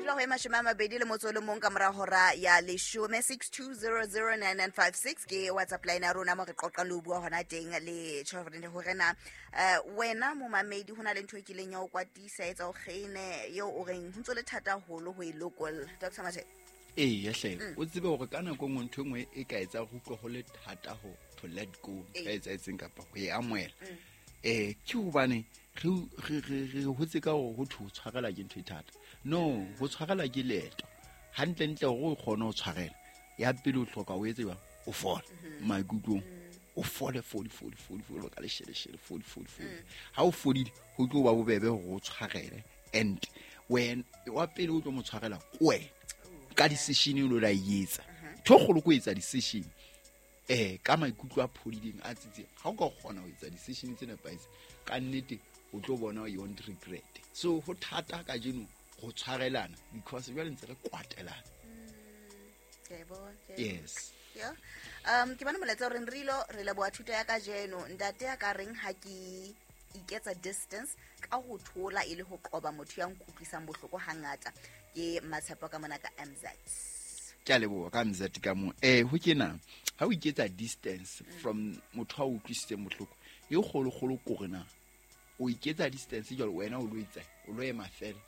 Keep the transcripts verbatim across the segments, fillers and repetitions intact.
Dula ho e mashome a mabedi le motso o le mong ka mora hora ya leshome. six two zero zero nine nine five six ke WhatsApp line ya rona mo re qoqang le ho bua hona teng le Tjhorene hore na eh, wena momamedi ho na le ntho e kileng ya o kwatisa, etsa o kgene eo o reng ho ntso le thata haholo ho e lokolla, Doctor Mathe? Ee, hle, o tsebe hore ka nako e nngwe ntho e nngwe e ka etsa go utlwe go le thata ho to let go ntho e etsahetseng kapa ho e amohela, um ke hobane re re re re hotse ka hore ho thwe ho tshwarela ke ntho e thata. No, ho tshwarela ke leeto. Hantlentle, hore o kgone ho tshwarela, ya pele o hloka o etse jwang? O fole maikutlong, o fole, fole, fole, fole, fole ka lesheleshele, fole, fole, fole. Ha o fodile, ho tlo ba bobebe hore o tshwarele. And wena wa pele o tlo mo tshwarela ke wena ka decision e lo la e etsa. Ntho e kgolo ko etsa decision eh ka maikutlo a phodileng, a tsitseng. Ha o ka kgona ho etsa decision tse nepahetseng ka nnete, o tlo bona you won't regret. So ho thata kajeno ho tshwarelana because jwale ntse re kwatelana. Ke a e bona, ke a e bona. Yes. Yeah. um ke bona molaetsa o reng re ilo re leboha thuto ya kajeno. Ntate ya ka reng ha ke iketsa distance ka ho thola e le ho qoba motho ya nkutlwisang bohloko hangata. Ke Matshepo ka mona ka M Z. Ke a leboha ka M Z ka mo eh ho kena. Ha o iketsa distance from motho a o utlwisitseng bohloko, e kgolo-kgolo kore na o iketsa distance jwalo, wena o lo etsa, o lo ema fela,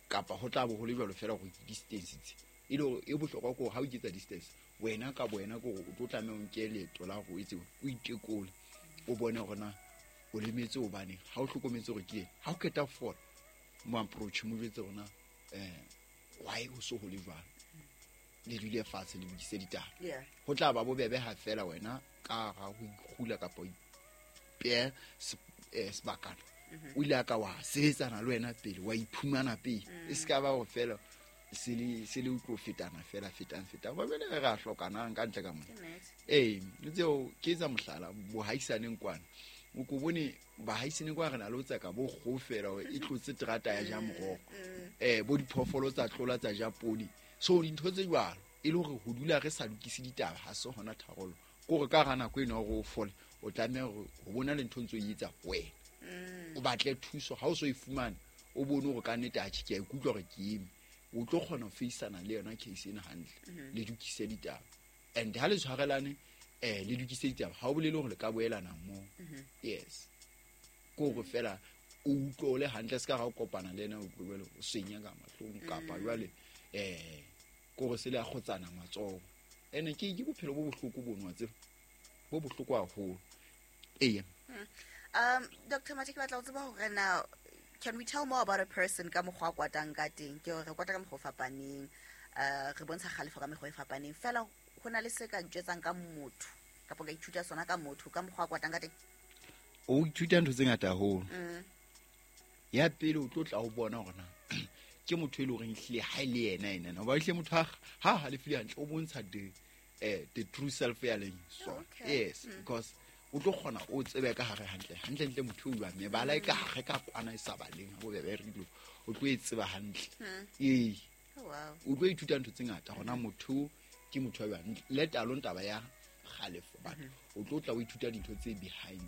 kapa ho tla bo ho le jwalo fela gore ke distance tse e le hore e bohlokwa ke hore ha o iketsa distance wena ka bo wena, ke hore o tlo tlameha o nke leeto la hore o etse, o itekole, o bone hore na o lemetse hobaneng. Ha o hlokometse hore ke eng, ha o qeta ho fola, mo approach, mo jwetse hore na um why ho so ho le jwalo, le dule fatshe, le lokise ditaba. Yeah ho tla ba bobebe ha fela wena ka ga ho ikgula kapa ho ipeha se- eh, sebakana, o ile a ka wa sebetsana le wena pele, wa iphumana pele. E se ka ba go fela se le se le o tlo fetana fela, fetang fetang ba bele re a hlokanang ka ntle ka mona. Ke nnete. Ee, tseo ke etsa mohlala bohaisaneng kwana, o ko bone bahaisaneng kwana re na le ho tseka bo kgoho fela hore e tlotse terata ya ja moroho, um bo diphoofolo tsa tlola tsa ja podi. So dintho tse jwalo e le hore ho dula re sa lokise ditaba ha se hona tharollo. Ke hore ka hara nako eno ya hore o fole, o tlameha hore ho bona le ntho ntse o e etsa wena, o batle thuso. Ha o so e fumane, o bone hore ka nnete, atjhe, ke a ikutlwa hore ke eme, o tlo kgona ho faceana le yona case ena hantle, le lokise ditaba. And ha le tshwarelane, um le lokise ditaba, ha o bolele hore le ka boelana moo. Yes, ke hore fela o utlwe o le hantle, se ka ga o kopana le ena, o utlwe jwale o senya ka mahlong, kapa jwale um ke hore se le a kgotsana matsoho. Ene ke ke bophelo bo bohloko bono, wa tseba, bo bohloko haholo, eya. um Doctor Mathe, ke batla ho tseba hore na can we tell more about a person ka mokgwa a kwatang ka teng? Ke hore re kwata ka mokgwa o fapaneng, uh, re bontsha kgalefo ka mekgwa e fapaneng fela. Ho na le se ka njwetsang ka motho kapa ka ithuta sona ka motho ka mokgwa a kwatang ka teng? O ithuta ntho tse ngata haholo. Mm. Ya pele, o tlo tla o bona hore na ke motho e leng horeng ehlile ha e le yena ena, hoba ehlile motho ha ha halefile hantle, o bontsha the eh the true self ya leng sona. Okay. Yes, because o tlo kgona o tsebe ka hare hantle hantle ntle motho o jwang, mebala e ka hare ka kwana e sa baleng ha bobebe re dilo, o tlo e tseba hantle, ee. Oh, wow. O tlo ithuta ntho tse ngata gona motho ke motho wa jwang, let alone taba ya kgalefo, but o tlo tla o ithuta dintho tse behind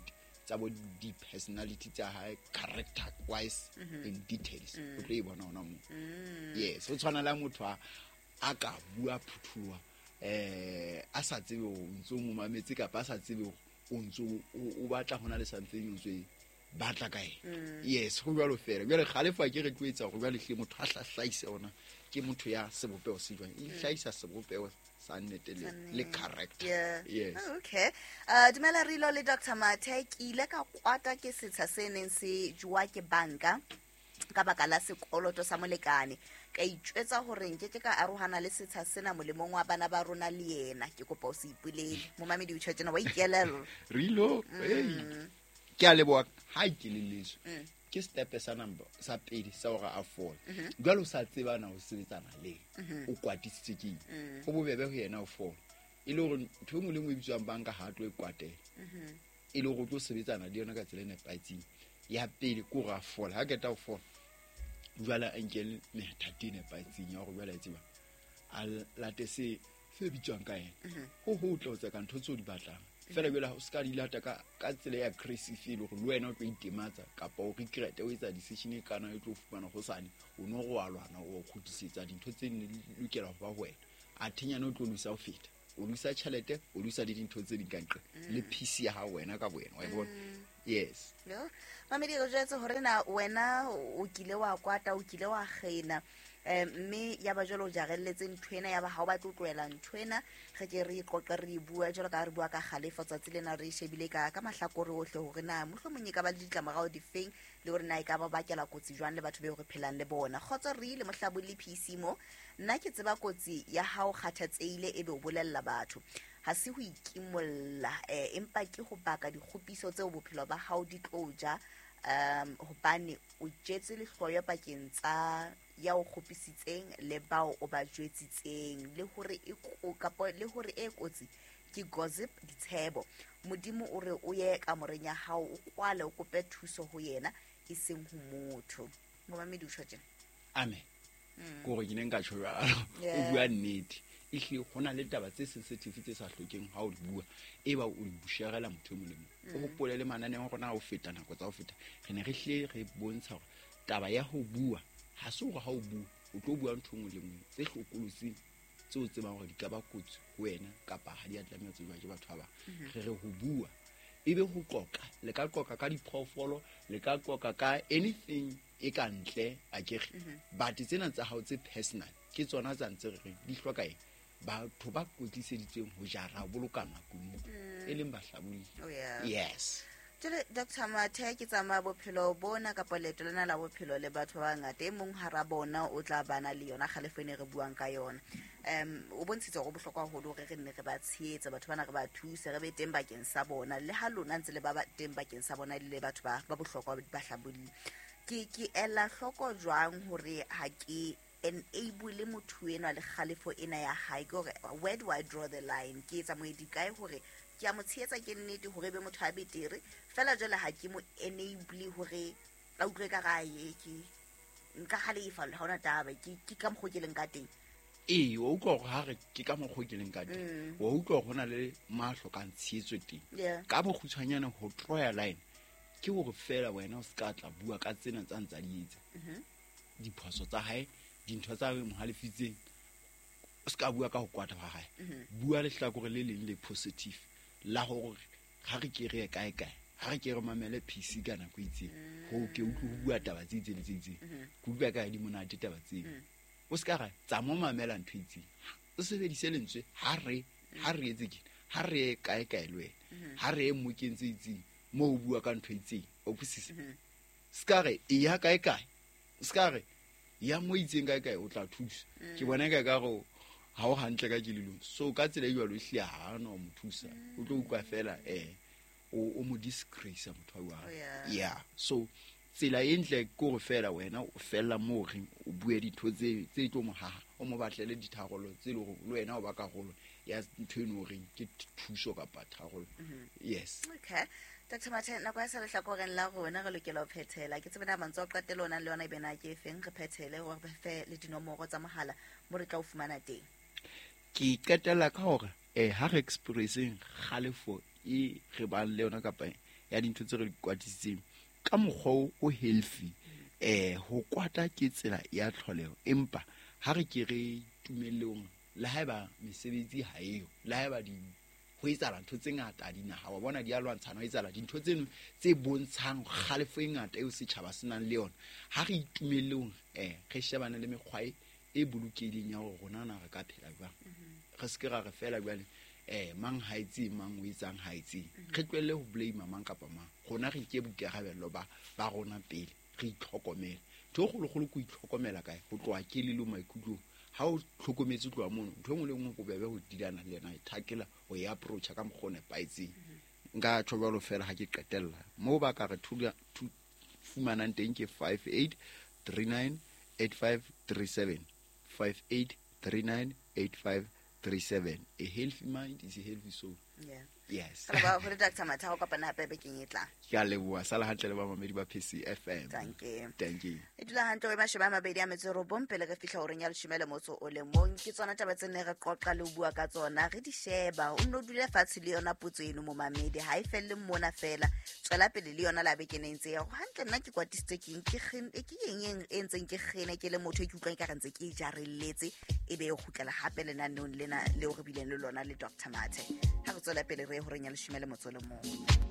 tsa bo di-personality tsa hae, character wise, in details, o tlo e bona hona moo. Yes, o tshwana le ha motho a a ka bua phuthuloha um a sa tsebe hore o ntso o mo mametse, kapa a sa tsebe hore o ntso o- o batla hona le something o ntso e batla ka ena. Yes, ho jwalo fela. Jwale kgalefo a ke re tlo etsa hore jwale hlile motho a hlahlahise ona ke motho ya sebopeho se jwang, e hlahisa sebopeho sa nnete le, le character. Yeah. Yes. Oh, okay. Uh, dumela Rilo le Doctor Mathe, ke ile ka kwata ke setsha se neng se jowa ke banka ka baka la sekoloto sa molekane. Ka itjwetsa hore nkeke ka arohana le setsha sena molemong wa bana ba rona le yena. Ke kopa o se ipolele. Momamedi o tjho tjena, wa ikelella. Rilo, hey, ke a leboha ha ikelelletswe. Ke step sa number sa pele sa hore a fole. Jwale o sa tsebana ho sebetsana le o kwatisitswe ke eng, ho bobebe ho yena ho fola, e le hore ntho e nngwe le nngwe e bitswang banka ha a tlo e kwatela, e le hore o tlo sebetsana le yona ka tsela e nepahetseng. Ya pele ke hore a fola. Ha qeta ho fola, jwale a nke methati e nepahetseng ya hore jwale a tseba a late se se bitswang ka ena ho hotle ho tseka ntho tseo di batlang. Fela jwale ha o ska di lata ka ka tsela ya aggressive e le hore le wena o tlo itematsa kapa o regret o etsa decision e kana e tlo fumana hosane o no go alwana o kgutlisetsa dintho tse ne di lokela ho ba ho wena. A thenyana o tlo losa ho feta. O losa tjhelete, o losa le dintho tse ding ka ntle. Le peace ya hao wena ka bowena, wa e bona? Yes. Yo, mamedi re jwetse hore na wena o kile wa kwata, o kile wa kgena, eh, mme ya ba jwale o jarelletse ntho ena, ya ba ha o batle ho tlohela ntho ena. Re ke re qoqe re e bua jwalo ka ha re bua ka kgalefo tsatsi lena, re e shebile ka ka mahlakore ohle hore na mohlomong e ka ba le ditlamorao difeng, le hore na e ka ba bakela kotsi jwang le batho beo re phelang le bona. Kgotso re ile mohlabolli P C mo, nna ke tseba kotsi ya hao kgathatsehile ebe o bolella batho. Ha se ho ikimolla, eh, empa ke ho baka dikgopiso tseo bophelo ba hao di tlo ja, um, hobane o jetse lehloyo pakeng tsa ya o kgopisitseng le bao o ba jwetsitseng, le hore e ko-, kapa le hore e kotsi ke gossip, ditshebo. Modimo o re o ye kamoreng ya hao, o kwale, o kope thuso ho yena, e seng ho motho. Momamedi o tjho tjena. Amen. Mm. Ke hore ke ne nka tjho jwalo. O Yeah. bua nnete. Ehlile ho na le taba tse sensitive tse sa hlokeng ha o di bua, e ba o di sharela motho e mong le mong. O Mm. hopole le mananeo a rona ha o feta nako tsa ho feta, re ne re hlile re bontsha hore taba ya ho bua ha se hore ha o bua o tlo bua ntho e nngwe le nngwe tse hlokolotsing tseo o tsebang hore di ka ba kotsi ho wena kapa ha di a tlameha ho tsejwa ke batho ba bang. Mm-hmm. Re re ho bua ebe ho qoqa, le ka qoqa ka diphoofolo, le ka qoqa ka anything e ka ntle, akere. Mm-hmm. But tsena tsa hao tse personal ke tsona tsa ntse re reng di hloka eng? Batho ba kwetliseditsweng ho jara, ho boloka makunutu, Mm. e leng bahlabolli. Oh, yeah. Yes. Jwale, Doctor Mathe, ke tsamaya bophelo bona kapa leeto lena la bophelo le batho ba bangata. E mong hara bona o tla bana le yona kgalefo e ne re buang ka yona. Um, o bontshitse hore ho bohlokwa haholo hore re nne re ba tshehetse, batho bana re ba thuse, re be teng bakeng sa bona. Le ha lona ntse le ba ba teng bakeng sa bona le batho ba, ba bohlokwa ba hlabolli. Ke, ke ela hloko jwang hore ha ke enable motho enwa le kgalefo ena ya hae? Ke hore where do I draw the line? Ke etsa moedi kae hore ke a mo tshehetsa ke nnete hore ebe motho a betere, fela jwale ha ke mo enable hore a utlwe ka ra ye, ke nka halefa, ha hona taba, ke, ke ka mokgwa ke leng ka teng. Ee, wa utlwa hore ha re ke ka mokgwa ke leng ka teng. Mm. Wa utlwa hore ho na le mo a hlokang tshehetso teng. Yeah. Ka bokgutshwanyane ho draw line ke hore fela wena o ska tla bua ka tsena tsa ntsa di etsa. Mm-hmm. Diphoso tsa hae, dintho tsa mo halefitseng, o ska bua ka ho kwata ha hae. Mm-hmm. Bua lehlakore le leng le positive la hore ha re ke re ye kae kae, ha re ke re mamele P C ka nako e itseng, ho ke utlwe ho bua taba tse itseng le tse itseng. Mm-hmm. Ke utlwa ka di monate taba tseo. Mm. O ska ra tsa mo mamela ntho e itseng. O sebedise lentswe ha re, ha re etse tjena, ha re ye kae kae le wena, Mm-hmm. ha re ye mmokeng tse itseng moo o bua ka ntho e itseng, o utlwisisa? Mm-hmm. Ska re e ya kae kae, ska re ya mo itseng kae kae o tla thusa. Mm. Ke bona ka ka re ha o hantle ka kelellong. So ka tsela e jwalo ehlile ha a no mo thusa. O tlo utlwa fela, eh, o, o mo disgrace motho wa Oh, yeah. Yeah. So tsela e ntle ke hore fela wena o fella moo reng o bue dintho tse, tse tlo mo haha, o mo batlele ditharollo tse leng hore le wena o ba karolo ya ntho eno reng ke thuso kapa tharollo. Mm-hmm. Yes. Okay. Doctor Mathe, nako ya sa lehlakoreng la rona re lokela ho phethela. Ke tsebe na mantswe a qetelo o nang le yona ebe na ke efeng, re phethele hore re fe le dinomoro tsa mohala mo re tla o fumana teng. Ke qetella ka hore, eh, ha re expresseng kgalefo e re bang le yona kapa ya dintho tse re di kwatisitseng ka mokgwa o healthy, eh, ho kwata ke tsela ya tlholeho, empa ha re ke re tumellong le haeba mesebetsi ha eyo, le haeba di ho etsahala ntho tse ngata dinaha, wa bona di a lwantshana, ho etsahala dintho tseno tse bontshang kgalefo e ngata eo setjhaba se nang le yona. Ha re itumellong, eh, re shebane le mekgwa e, e bolokehileng ya hore rona na re ka phela jwang. Mm-hmm. Re se ke ra re fela jwale, eh, mang ha etse, mang o etsang ha etse. Mm-hmm. Re tlohelle ho blame mang kapa mang. Rona re nke boikarabello ba, ba rona pele, re itlhokomele. Ntho e kgolokgolo ke ho itlhokomela kae? Ho tloha kelellong, maikutlong. Ha o hlokometse ho tloha mono, ntho e nngwe le nngwe bobebe ho dilana le yena, e thakela ho e approacha ka mokgwa o nepahetseng. Mm-hmm. Nka tjho jwalo fela ha ke qetella. Moo ba ka re thula, thu-, fumanang teng ke five eight three nine eight five three seven. five eight three nine eight five three seven. A healthy mind is a healthy soul. Yeah. Yes. Re leboha haholo Doctor Mathe, ha o kopana hape bekeng e tlang. Ke a leboha. Sala hantle le bamamedi ba P C F M. Thank you. Thank you. E dula hantle o mashome a mabedi a metso e robong pele re fihla horeng ya leshome le motso o le mong. Ke tsona taba tse ne re qoqa le ho bua ka tsona, re di sheba. O nno dule fatshe le yona potso eno momamedi, ha e felle mona fela. Tswela pele le yona la beke ne ntse ya hore hantle nna ke kwatisitswe ke eng, ke kgen-, ke eng e, e ntseng ke kgene ke le motho e ke utlwang ekare ntse ke e jarelletse, e be e kgutlela hape lenaneong lena leo re bileng le lona le Doctor Mathe. Ha re tswela pele re ye horeng ya leshome le motso o le mong.